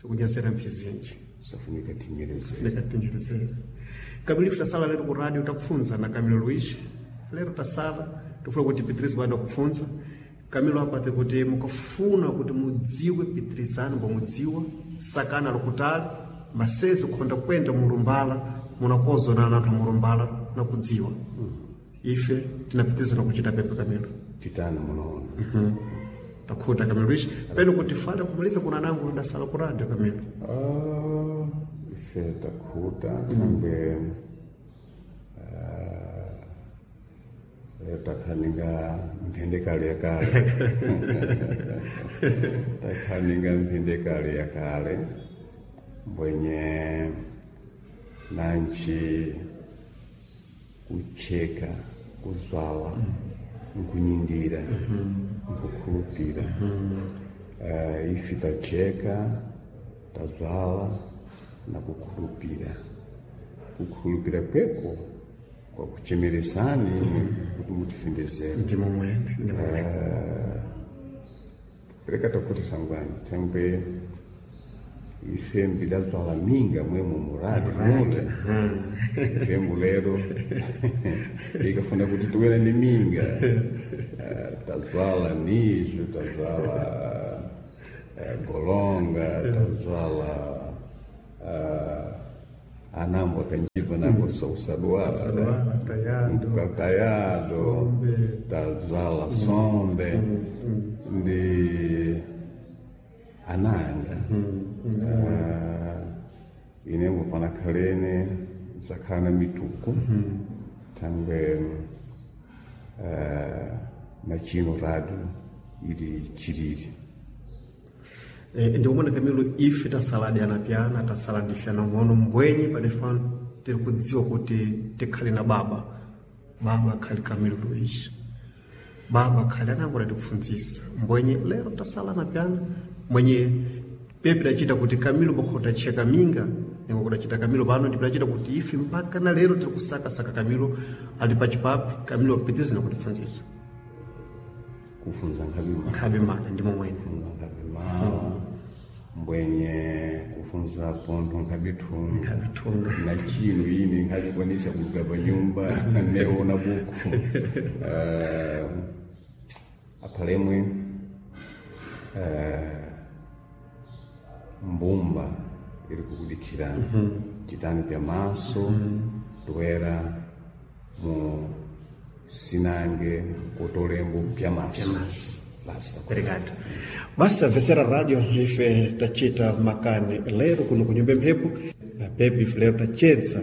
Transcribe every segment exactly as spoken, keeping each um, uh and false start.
Tikunyazera mphizinji. Safunika tinyerezere. Ndikatinyerezera. Kamilo, ife tasala lero ku radio takufunza na Camilo Luiz. Lero tasala tifuna kuti pitirize bado kufunza. Camilo, apate kuti mukafuna kuti mudziwe pitirizani mbomudziwa sakana lokutali masezi kukhonda kwenda mulumbala munakozonana na anthu amulumbala nakudziwa. Ife tinapitirizana kuchita pepe, Camilo. Titani munoona. Takhuta, Camilo Luiz, peno kuti fale kumaliza kuna nangu ndasala ku radio, Camilo. Ah, ife takhuta thangwe takhaninga mphindi kale ya kale, takhaninga mphindi kale ya kale mbwenye nanchi kucheka kuzwala nkunyindira nkukhulupira. Eh, ife tacheka tazwala na kukhulupira, kukhulupira kweko kwakuchemeresani kuti mutifindizere. Ndimo mwene, ndimo mwene. Pereka takuti sangwanji thangwe ife mbidazwala minga mwemo muradi mule ife mbulero ikafuna kuti tuwere ni minga. Eh, tazwala nijo tazwala eh, golonga tazwala eh, anambo akanjiva nango sausaduara. Saduara, tayado. Tayado. Sombe. Tazwala sombe ndi ananga. Ah, inembo panakhalene zakhala na mituku thangwe ah, na chino radio ili chilili. Eh, ndikumona Camilo, ife tasala anapyana tasala ndife anang'ono mbwenye padefe pano tiri kudziwa kuti tikhale na baba, baba akhali Camilo Luiz, baba akhali anango atikufunzisa mbwenye lero tasala anapyana mwenye pepe dachita kuti Camilo pakhota cheka minga ningo kudachita Camilo pano ndipidachita kuti ife mpaka na lero tiri kusakasaka Camilo ali pachipapi. Camilo apitizina kutifunzisa. Kufunza nkhabe. Nkhabe mana, ndimo mwene. Kufunza nkhabe mawa mbwenye kufunza pontho nkhabe thunga. Nkhabe thunga. Na chino ini nkhabikwanisa kuluka pa nyumba neona buku. uh, aphalemwe uh, mbumba iri kukudikirana chitani pya maso toera mu sinange kotolembo pya maso. Maso. Basta. Obrigado. Basta vesera radio ife tachita makani lero kuno kunyumba mphepo na pepe ife lero tachedza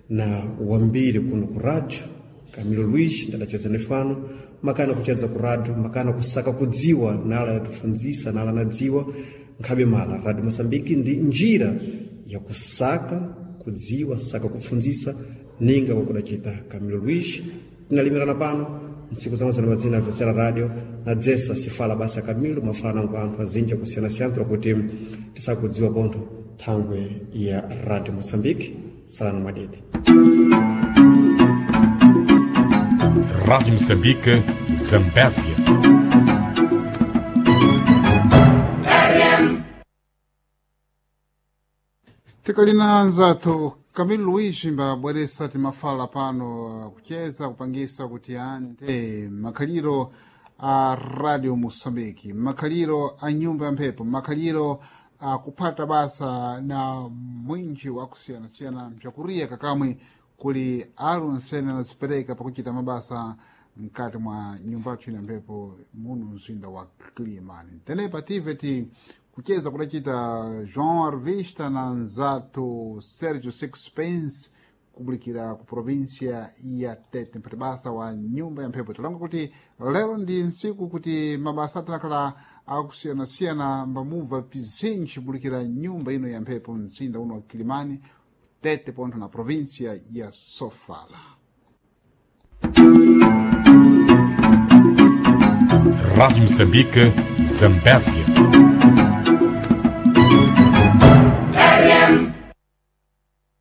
na wambiri kuno ku radio. Camilo Luiz ndadachedza nefano makana kuchedza ku radio, makana kusaka kudziwa nala yatifunzisa nala nadziwa nkhabe mala Radio Mosambiki ndi njira ya kusaka kudziwa saka kufunzisa ninga kwakudachita Camilo Luiz. Tinalimirana pano ntsiku zamwe zana madzina vesera radio na dzesa sifala basa Camilo mafala nangu anthu azinja kusiyanasiyana kuti tisakudziwa pontho thangwe ya Radio Mosambiki. Salana mwadede. Rádio Moçambique, Zambésia. Tikalina anzathu Camilo Luiz mbabweresa timafala pano kucheza kupangisa kuti ante makhaliro a Radio Moçambique, makhaliro a nyumba ya mphepo, makhaliro a kuphata basa na mwinji wakusiyanasiyana mpyakuriya kakamwe kuli alunsene anazipereka pakuchita mabasa mkati mwa nyumba yathu ina mphepo muno mzinda wa Kilimani. Tenepa tive ti kucheza kudachita João Arvista na nzathu Sergio Sixpence kubulikira ku província ya Tete mpati basa wa nyumba ya mphepo. Tilonga kuti lero ndi ntsiku kuti mabasa atinakhala akusiyanasiyana mbamubva pizinji kubulikira nyumba ino ya mphepo mzinda uno wa Kilimani, Tete pontho na província ya Sofala. Rádio Moçambique, Zambésia.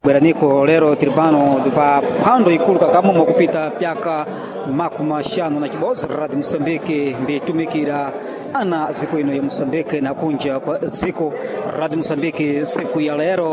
Bweraniko lero tili pano pa phwando ikulu kakamumo kupita pyaka makumi axanu na chibodzi Radio Moçambique mbitumikira Ana ziko ino ya Mosambike na kunja kwa ziko Radio Mosambike siku ya lero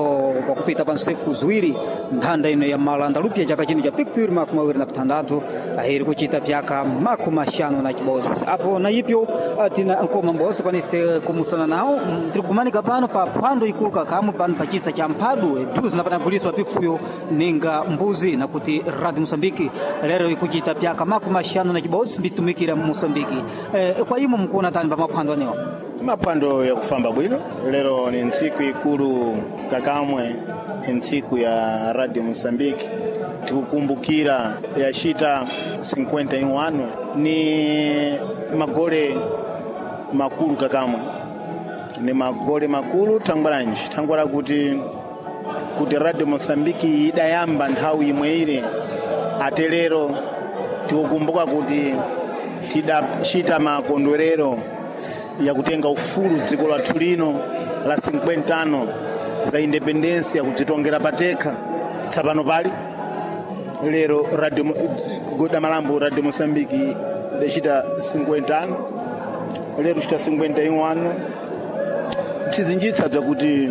kwa kupita pa nsiku ziwiri nthanda ino ya malanda lupya chaka chino cha pikipiri makumi awiri na pitandatu ahiri kuchita pyaka makumi axanu na chibosi apo na ipyo tina nkoma mbosi kwanise kumusana nawo mm, tiri kumanika pano pa phwando ikulu kakamwe pano pa chisa cha mphadu eduzi napanaguliswa pifuyo ninga mbuzi na kuti Radio Mosambike lero ikuchita pyaka makumi axanu na chibosi mbitumikira mu Mosambiki. Eh, kwa imo mkuona tani pa maphwando anewa Maphwando yakufamba bwino lero ni ntsiku ikulu kakamwe ni ntsiku ya Radio Mosambiki tikukumbukira yacita cinquenta e um ano ni magole makulu kakamwe ni magole makulu thangwalanji thangwala kuti kuti Radio Mosambiki idayamba nthawi imwe ile ate lero tikukumbuka kuti tidacita makondwerero yakutenga ufulu dziko lathu lino la cinquenta ano za independensia kudzitongera patekha tsapano pali lero radio Mo- goda malambo Radio Mosambiki idacita cinquenta ano lero chita cinquenta e um ano bzizinjitsa bzakuti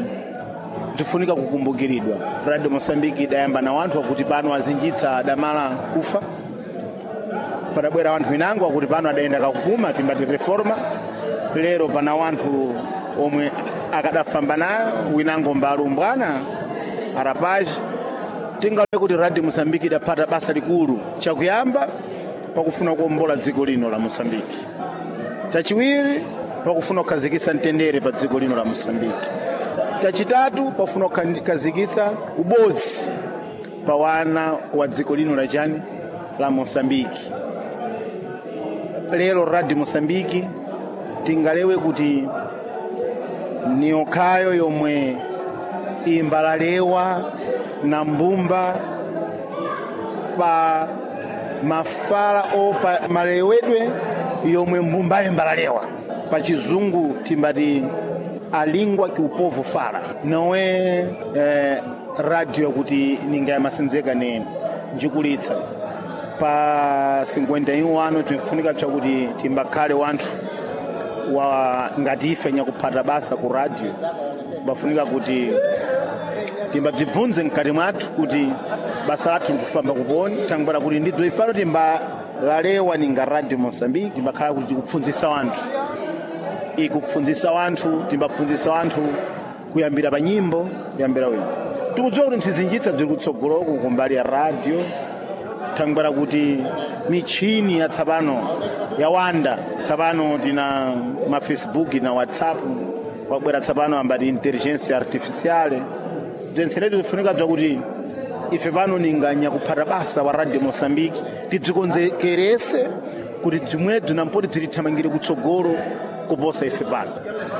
bzifunika kukumbukiridwa. Radio Mosambiki idayamba na wanthu akuti pano azinjitsa adamala kufa padabwera wanthu winango akuti pano adayenda kakupuma timbati reforma lero pana wanthu omwe akadafamba nayo winango mbalumbwana arapaji tingale kuti Radio Mosambiki idaphata basa likulu chakuyamba pakufuna kuombola dziko lino la Mosambiki, chachiwiri pakufuna kukhazikitsa mtendere pa dziko lino la Mosambiki, chachitatu pafuna kukhazikitsa ubodzi pa wana wa dziko lino la chani la Mosambiki. Lero Radio Mosambiki tingalewe kuti ni yokhayo yomwe imbalalewa na mbumba pa mafala o pa malewedwe yomwe mbumba imbalalewa pa chizungu timbati a língua que o povo fala não é eh, radio yakuti ninga yamasenzeka ne njikulitsa pa cinquenta e um ano tinfunika pyakuti timbakhale wanthu wa ngati ife nyakuphata basa ku radio bafunika kuti timbabzibvunze mkati mwathu kuti basa lathu likufamba kuponi tangwara kuti ndidzo ifano timbalalewa ninga Radio Mosambiki timbakhala kuti tikupfundzisa wanthu ikupfundzisa wanthu timbapfundzisa wanthu kuyambira pa nyimbo kuyambira wino tikudziwa kuti msizinjitsa bziri kutsogoloku kumbali ya radio thangwera kuti michini ya tsapano yawanda tsapano tina ma Facebook na WhatsApp kwabwera tsapano ambati intelligence artificiale bzensenezo zifunika bzakuti ife pano ninganya kuphata basa wa Radio Mosambiki tidzikonzekerese kuti bzimwebzo nampoti bzirithamangire kutsogolo kuposa ife pano.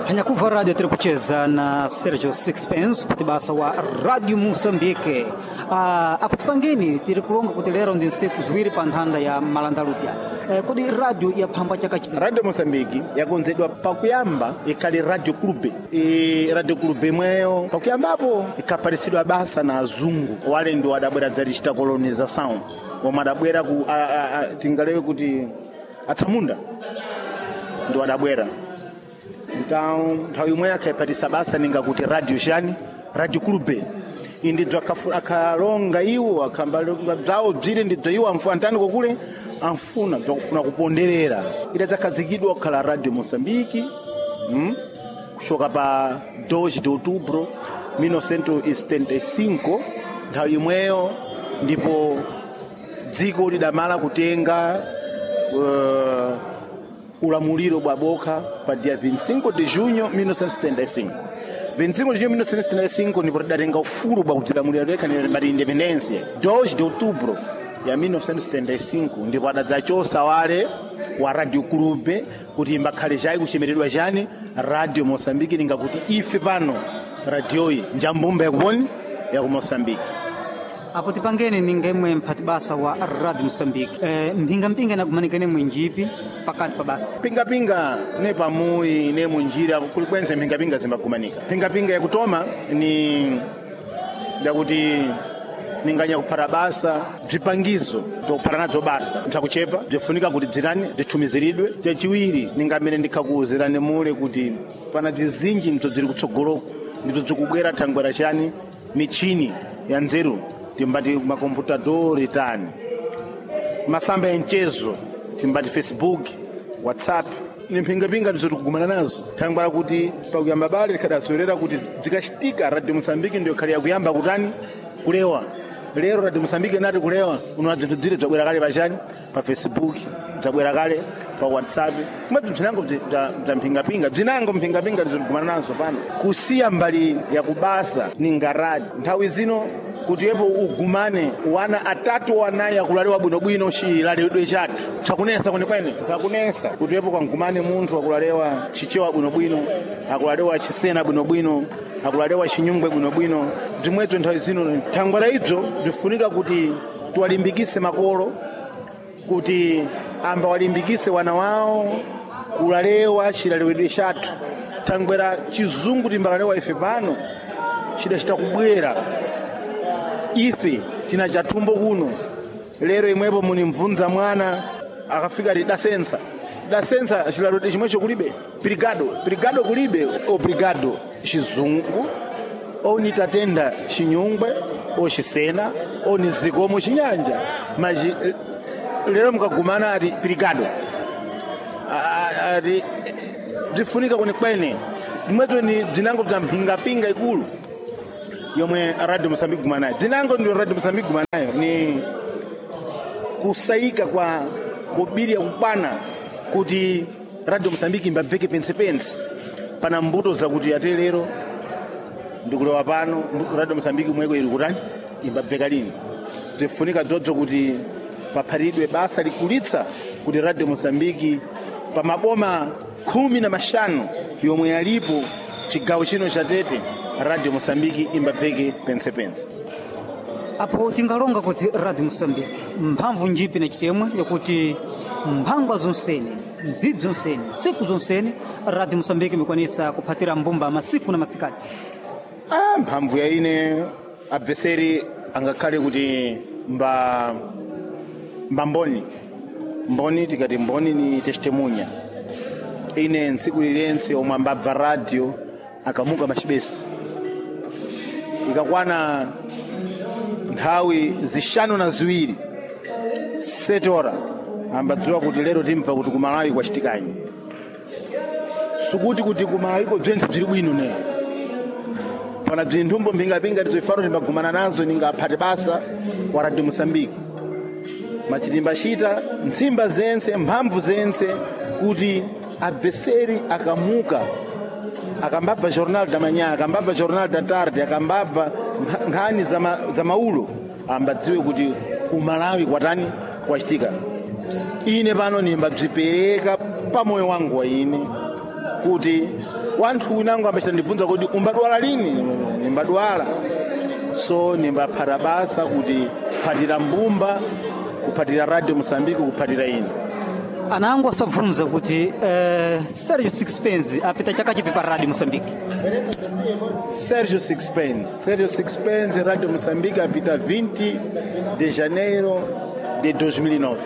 Hanyakuva radio tiri kucheza na Sergio Sixpence kuti basa wa Radio Mosambike. Uh, apo tipangeni tiri kulonga kuti lero ndi nsiku ziwiri pa nthanda ya malanda lupya. Eh, kodi radio yaphamba chaka chino Radio Mosambiki yakonzedwa pakuyamba ikhali Radio Clube e Radio Clube imweyo pakuyambapo ikhaparisidwa basa na azungu wale ndi adabwera dzatichita colonização omwe adabwera ku a, a, a, tingalewe kuti atsamunda ndi adabwera então nthawi imwe akhayiphatisa basa ninga kuti radio chani Radio Clube indidzo akhafu- akhalonga iwo akhambalonga bzawo bzire ndidzo iwo amfu antani kokule amfuna bzakufuna kuponderera idadzakhazikidwa kukhala Radio Mosambiki mm? kushoka pa dois de outubro mil novecentos e setenta e cinco nthawi imweyo ndipo dziko lidamala kutenga uh, ulamuliro bwa bokha pa dia vinte e cinco de junho mil novecentos e setenta e cinco. vinte e cinco de junho mil novecentos e setenta e cinco ndipo tidatenga ufulu bwa kudzilamulira tekha mati independência dois de outubro ya mil novecentos e setenta e cinco ndipo adadzachosa wale wa Radio Clube kuti imbakhale chayi kuchemeredwa chani Radio Mosambiki ninga kuti ife pano radioyi njambumba yakuponi yaku Mosambiki. Apo tipangeni ningemwe mphati basa wa Radio Mosambike. Eh, mphingamphinga inakumanikene mwinjipi pakati pa basa pingapinga ne pamuyi ne munjira kulikwense mphingapinga zimbakumanika phingapinga yakutoma ni yakuti Ninganya kuphata basa bzipangizo bzokuphata nadzo basa bzakuchepa bzifunika kuti bzitani bzichumiziridwe. Chachiwiri ningamene ndikhakuwuzirani mule kuti pana bzizinji ndizo bziri kutsogoloko ndizo bzikubwera thangwera chani michini ya nzeru timbati makomputadori tani masamba ya mchezo timbati Facebook, WhatsApp ni mphingapinga ndizo tikugumana nazo thangwera kuti pakuyamba bale likhadazoerera kuti bzikachitika Radio Mosambiki ndiyo khali yakuyamba kutani kulewa. Lero Radio Mosambiki nati kulewa unoona bzinthu bzire bzabwera kale pachani pa Facebook, bzabwera kale pa WhatsApp kumwe bzinango bza mphingapinga bzinango mphingapinga ndizo tikumana nazo pano kusiya mbali ya kubasa ni ngaradi nthawi zino kuti yepo ugumane wana atatu wanayi akulalewa bwinobwino chilalewedwe chathu chakunesa kwenekwene chakunesa kuti yepo kangumane munthu akulalewa chichewa bwinobwino akulalewa chisena bwinobwino akulalewa chinyungwe bwinobwino bzimwezo nthawi zino thangwera ibzo bzifunika kuti tiwalimbikise makolo kuti amba walimbikise wana wawo kulalewa chilalewedwe chathu thangwera chizungu timbalalewa ife pano chidachita kubwera ife tina chathumbo kuno lero imwepo munimvunza mwana akafika ti dasensa dasensa chilalewedwe chimwecho kulibe brigado brigado kulibe obrigado chizungu onitatenda chinyungwe ochisena onizikomo chinyanja maji lero mukagumana ati brigado ati bzifunika kwenekwene bzimwezo ni bzinango bza mphingapinga ikulu yomwe Radio Mosambiki gumana nayo bzinango ndio Radio Mosambiki gumana nayo ni kusayika kwa kubiri yakukwana kuti Radio Mosambiki imbabveke pensepense pana mbuto zakuti ate lero ndikulewa pano Radio Mosambiki mweko ili kutani imbabveka lini bzifunika dzodzo kuti papharidwe basa likulitsa kuti Radio Mosambiki pa maboma khumi na mashanu yomwe yalipo chigawo chino cha Tete Radio Mosambiki imbabveke pensepense. Apo tingalonga kuti Radio Mosambiki mphamvu njipi na chitemwe yakuti mphangwa zonsene mdzidzi zonsene siku zonsene Radio Mosambiki imikwanisa kuphatira mbumba masiku na masikati. Ah, mphamvu ya ine abveseri angakhale kuti mba mba mboni mboni tikati mboni ni testemunya ine ntsiku lilense omwe ambabva radio akamuka machibesi ikakwana nthawi zishanu na ziwiri setora ambadziwa kuti lero timva kuti kumalawi kwachitikanyi sikuti kuti kumalawiko bzentse bziri bwino ne pana bzinthumbo mphingapinga tizoifano timbagumana nazo ningaphate basa wa Radio Mosambiki machitimbachita ntsimba zense mphamvu zense kuti abveseri akamuka akambabva Jornal da Manhã akambabva Jornal da Tarde akambabva nkhani za, ma, za maulo ambadziwe kuti kumalawi kwatani kwachitika. Ine pano nimbabzipereka pa moyo wangu wa ine kuti wanthu winango ambachita ndibvunza kuti umbadwala lini nimbadwala so nimbaphata basa kuti phatira mbumba kuphatira Radio Mosambiki kuphatira ine. Anango asabvunza kuti eh, Sergio Sixpence apita chaka chipi pa Radio Mosambiki? Sergio Sixpence Sergio Sixpence Radio Mosambiki apita vinte de janeiro de dois mil e nove.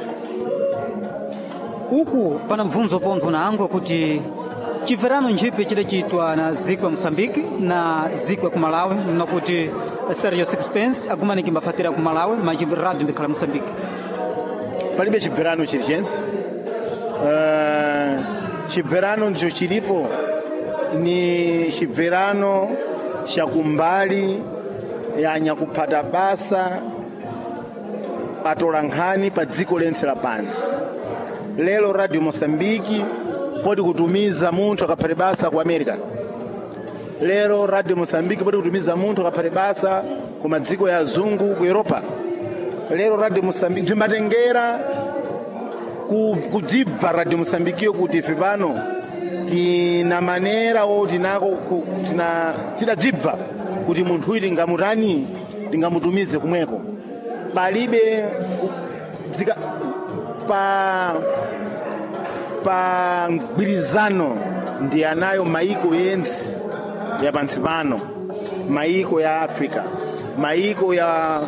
Uku pana mvunzo pontho nango kuti chimverano njipi chidachitwa na ziko ya Mosambiki na ziko ya ku Malawi nakuti Sergio Sixpence agumaniki mbaphatira ku Malawi maji radio mbikhala Mosambiki. Palibe chibverano chilichonse. Uh, chibverano ndicho chilipo ni chibverano chakumbali ya nyakuphata basa patola nkhani pa dziko lense lapansi. Lero Radio Mosambiki podi kutumiza munthu akaphate basa ku America. Lero Radio Mosambiki podi kutumiza munthu akaphate basa ku madziko ya azungu ku Europa. Lero Radio Mosambiki bzimbatengera kudzibva Radio Mosambikiyo kuti ife pano tina manera o tinako tina tidadzibva kuti munthu uyu tingamutani tingamutumize kumweko palibe bzika pa pa mgwirizano ndi anayo maiko yense ya pansi pano maiko ya Africa maiko ya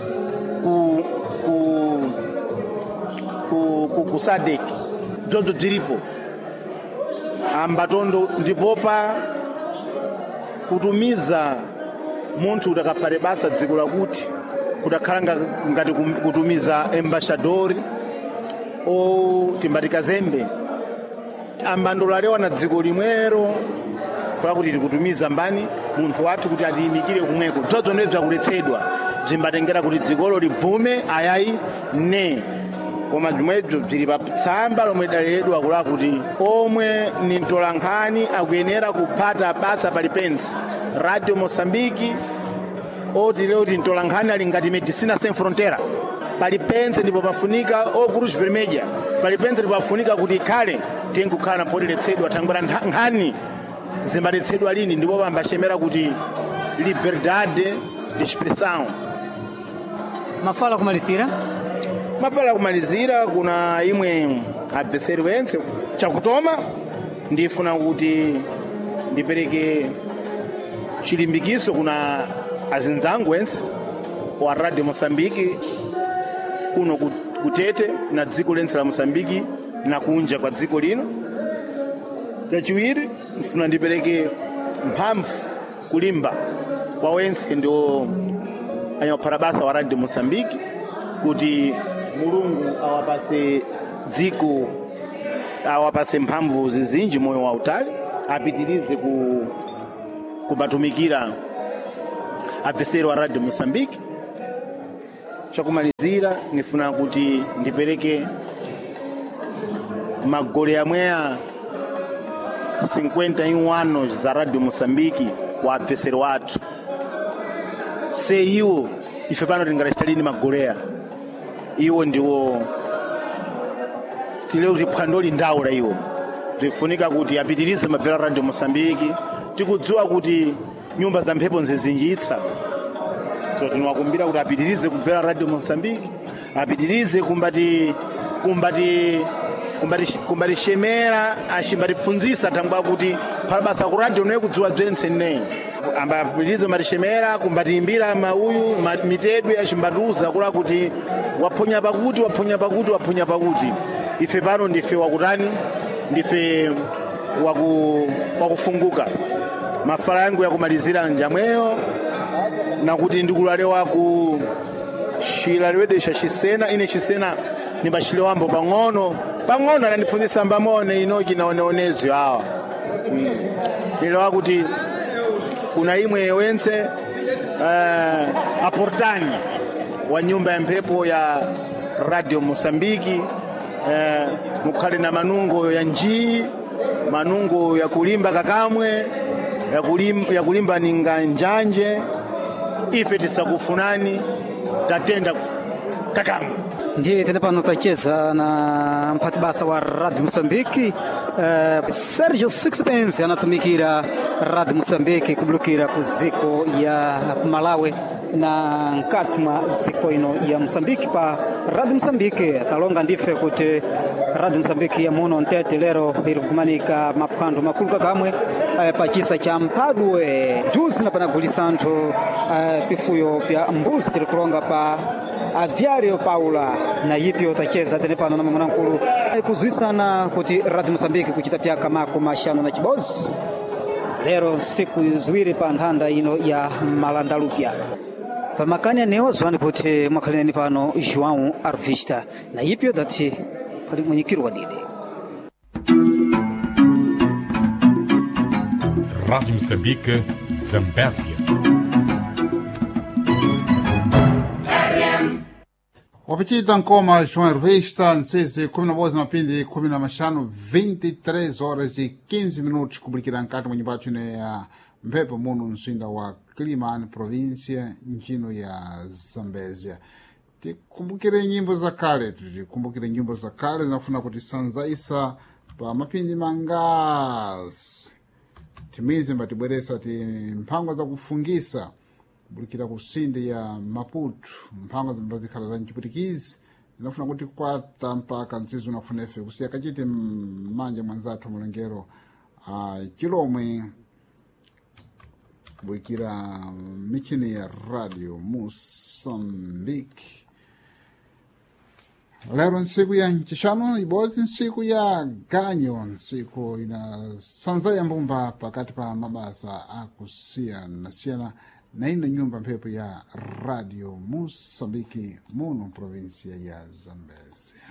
ku, ku SADC bzobzo bziripo ambatondo ndipopa kutumiza munthu kuti akaphate basa dziko lakuti kudakhala nga- ngati kum- kutumiza embaixadori o timbati kazembe ambandolalewa na dziko limwero kula kuti tikutumiza mbani munthu wathu kuti atiyimikire kumweko bzobzo ndiye bzakuletsedwa bzimbatengera kuti dzikolo libvume ayayi ne koma bzimwebzo bzili pa tsamba lomwe lidaleredwa kula kuti omwe ni mtolankhani akuyenera kuphata basa palipense Radio Mosambiki oti leo ti mtolankhani ali ngati Medicina Sem Frontera palipense ndipo pafunika o Cruz Vermelha palipense ndipo pafunika kuti ikhale tinkukhala napo tiletsedwa thangwera nkhani zimbaletsedwa lini ndipo pambachemera kuti liberdade de expressão. Mafala kumalizira Mafala kumalizira kuna imwe abveseri wentse chakutoma ndifuna kuti ndipereke chilimbikiso kuna azinzangu wense wa Radio Mosambiki kuno ku- kutete na dziko lense la Mosambiki na kunja kwa dziko lino. Chachiwiri ndifuna ndipereke mphamvu kulimba kwa wense ndio anyaphata basa wa Radio Mosambiki kuti Mulungu awapase dziko awapase mphamvu zizinji moyo wautali apitirize ku kubatumikira abveseri wa Radio Mosambiki. Chakumalizira nifuna kuti ndipereke magole amweya cinquenta e um anos za Radio Mosambiki kwa abveseri wathu se iwo ife pano tingalachita magoleya iwo ndiwo tileo kuti phwando lindawo la iwo tifunika kuti apitirize mabvera Radio Mosambiki tikudziwa kuti nyumba za mphepo nzizinjitsa so tinowakumbira kuti apitirize kubvera Radio Mosambiki apitirize kumbati kumbati kumbati kumbatishemera ashimbatipfunzisa thangwa kuti phala basa ku radio noye kudziwa bzentse nne ambapitirize kumbatishemera kumbatiimbira mauyu ma- mitedwe achimbatiuza kula kuti waphonya pakuti waphonya pakuti waphonya pakuti ife pano ndife wakutani ndife waku, wakufunguka mafala yangu yakumalizira njamweyo nakuti ndikulalewa ku xilaliwedesha xisena ine xisena nimbachilewambo pang'ono pang'ono anandipfunzisa mbamone inoki naoneonezyo awa mm. nilewa kuti kuna imwe wense uh, aportani wa nyumba ya mphepo ya Radio Mosambiki eh, mukhale na manungo ya njii manungo ya kulimba kakamwe ya kulimba, ya kulimba ninga njanje ife tisakufunani tatenda kakamwe. Ndiye tene pano tacheza na mphati basa wa Radio Mosambiki eh, Sergio Sixpence anatumikira Radio Mosambiki kubulukira ku ziko ya Malawi na nkati mwa ziko ino ya Mosambiki pa Radio Mosambiki talonga ndife kuti Radio Mosambiki ya muno ntete lero iri kumanika maphwando makulu kakamwe eh, pa chisa cha mpadwe juzi na panagulisa anthu eh, pifuyo pya mbuzi tiri kulonga pa Aviário Paula na yipyo tacheza tene pano na mamwanamkulu kuzwisana kuti Radio Mosambiki kuchita pyaka mako mashanu na chibozi lero siku ziwiri pa nthanda ino ya Malandalupya pamakani anewa zwani kuti mwakhalineni pano João Arvista na yipyo dati pali mwenyekiro wa dide. Rádio Moçambique, Zambésia. Wapachita nkoma João Hervista, nsese kumi na bozi mapindi kumi na mashanu vinte e três horas e quinze minutos kubulikira nkati mwa nyumba yathu ino ya mphepo muno mzinda wa Climane, província ntchino ya Zambésia. Tikumbukire nyimbo za kale, tikumbukire nyimbo za kale zinafuna kuti sanzaisa pa mapindi mangasi timizi mbatibweresa ti mphangwa zakufungisa kubulikira ku sinde ya Maputo mphangwa zimbazikhala za mchipwitikizi zinafuna kuti kwata mpaka mtsizi unafuna ife kusiya kachiti mmanja mwanzathu mulengero a chilomwe kubulikira michini ya Radio Moçambique. Lero ntsiku ya ncixanu, ibodzi ntsiku ya ganyo, ntsiku ina sanza ya mbumba pakati pa mabasa akusiyana-siyana na ino nyumba mphepo ya Radio Moçambique muno província ya Zambezia.